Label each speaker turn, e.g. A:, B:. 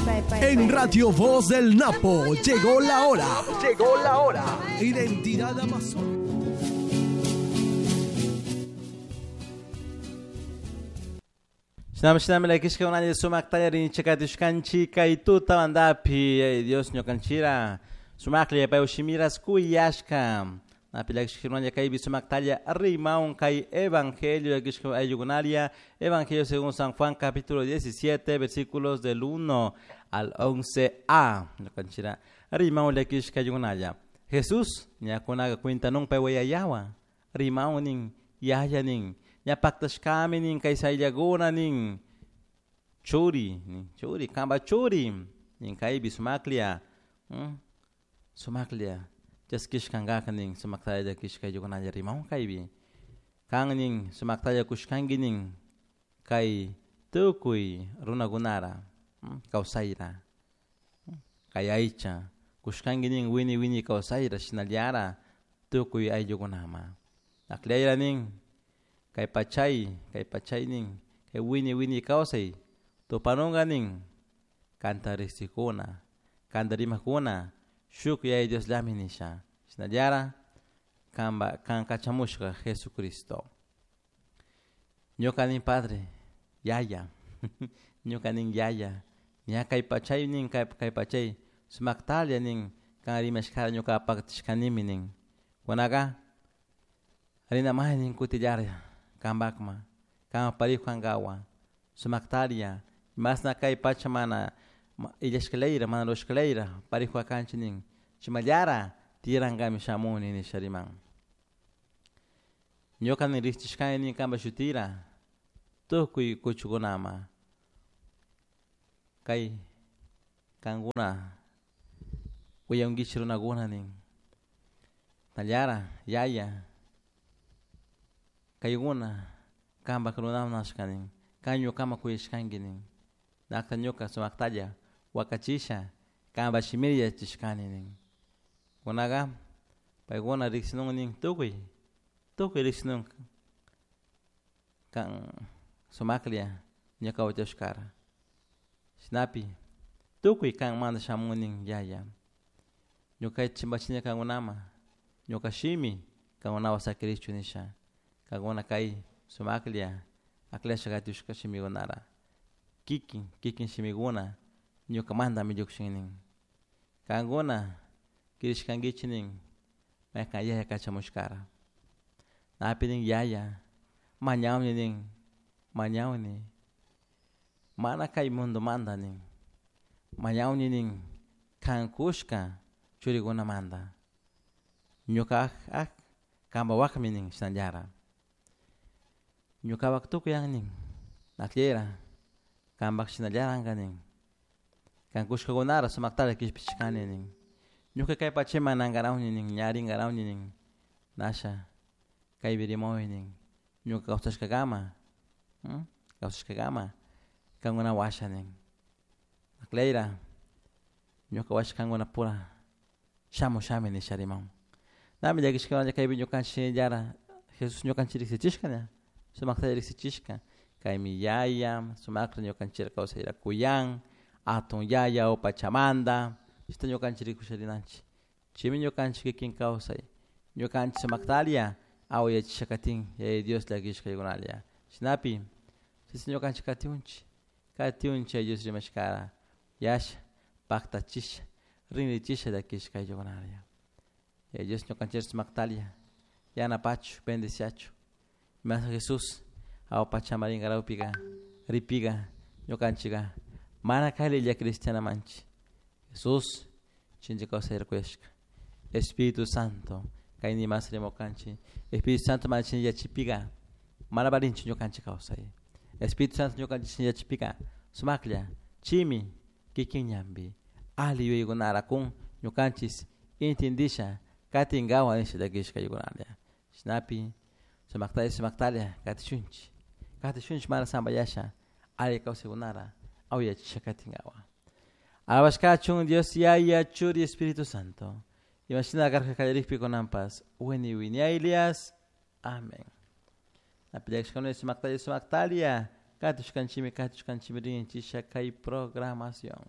A: En Radio Voz del Napo llegó la hora. Llegó la hora. Identidad Amazon.
B: Shinami shinami llakishka sumaktalla rinchikatishkanchik kay tutamantapi ay Dios ñukanchira sumaklla pay shimiras kuyashka napi llakishka kaypi sumaktalla rimaun kay evangelio llakishka ayllukunaria Evangelio según San Juan capítulo 17 versículos del 1 al 11a ñukanchira rimaun llakishka ayllukunalla Jesús ñakunaka cuentanun pay wayayawa rimaun nin yaya nin ña paktashkami nin kay sayllakuna nin churi nin churi kanpa churi nin kaypi sumaklla sumaklla chaskishkankaka nin sumaktalla llakishka ayllukunalla rimaun kaypi kan nin sumaktalla kushkanki nin kay tukuy runakunara kawsayra kay aycha kushkanki nin wini wini kawsayra shinallara tukuy ayllukunama akllayra nin kay pachay nin kay wini wini kawsay tupanunka nin kanta riqsikuna kanta rimakuna shuk Yaya Diosllami nisha shinallara kanpa kan kachamushka Jesucristo ñuka nin Padre Yaya ñuka nin Yaya ña kay pachay nin kay pachay sumaktalla nin kan rimashkara ñuka paktashkanimi nin kunaka rinamay nin kutillara kanpakma kan parijo kankawan sumaktaria masna kay pacha mana illashkalayra mana rurashkalayra parijo kanchik nin chimallara tiyarankami shamuni nisha riman ñuka nin riqchishkani nin kanpa shutira tukuy kuchukunama kay kankuna uyankichik runakuna nin tallara yaya kaykuna kanpak runaman nashka nin kan ñukaman kuyashkanki nin nakta ñuka sumaktalla wakachisha kanpa shimita yachachishkani nin kunaka paykuna riksinun nin tukuy tukuy riksinun kan sumaklla ñuka wachashkara shinapi tukuy kanmanta shamun nin yaya ñuka chimpachini kankunama ñuka shimi kankunawan sakirichu nisha kankuna kay sumaklla akllashka katushka shimikunara kikin kikin shimikuna ñukamantami llukshin nin kankuna kirishkankichik nin maykan yaya kachamushkara napi nin yaya mañawni nin mañawni mana kay mundomanta nin mañawni nin kan kushka churikunamanta ñuka ak kanpa wakmi nin shinallara ñukapak tukuy nin akllera kanpak shinallaranka nin kan kushkakunara sumaktalla kishpichishkani nin ñuka kay pachaman nankarawni nin ña rinkarawni nin nasha kaypi rimawi nin ñuka kawsashkakama kawsashkakama kankuna washa nin akllayra ñuka washa kankunapura shamushami nisha rimawan nami llakishkakunalla kaypi ñukanchik shinallara Jesús ñukanchik riksichishka ña sumaktalla riksichishka kaymi yaya sumakta ñukanchik kawsayra kuyan atun yaya upachamanta chayta ñukanchik rikusha rinanchik chaymi ñukanchik kikin kawsay ñukanchik sumaktalla awayachisha katin Yaya Dios llakishka aykunalla shinapi chaysi ñukanchik katiunchik katiunchik Yaya Dios rimashkara yasha paktachisha rinrichisha llakishka ayllukunalla Yaya Dios ñukanchik sumaktalla yanapachu bendeciachu mas Jesús awa pachama rinkarawpika ripika ñukanchika mana kaylilla cristiana manchik Jesús chinchi kawsayra kuyashka Espíritu Santo kay nimas rimukanchik Espíritu Santo mana yachipika mana valinchu ñukanchik kawsay Espíritu Santo ñukanchik yachipika sumaklla chimi kikin ñanpi alli yuyaykunara kun ñukanchik intindisha katinkawan nisha llakishka ayllukunalla shinapi sumaktalla sumaktalla katishunchik katishunchik mana sampayasha alli kawsaykunara awayachisha katinkawan alabashkachun Dios Yaya Churi Espíritu Santo imashina karka kallarikpi kunanpas wini wiñaylias amén napi llakishkuna sumaktalla sumaktalla katushkanchikmi katushkanchikmi rinchisha kay programación.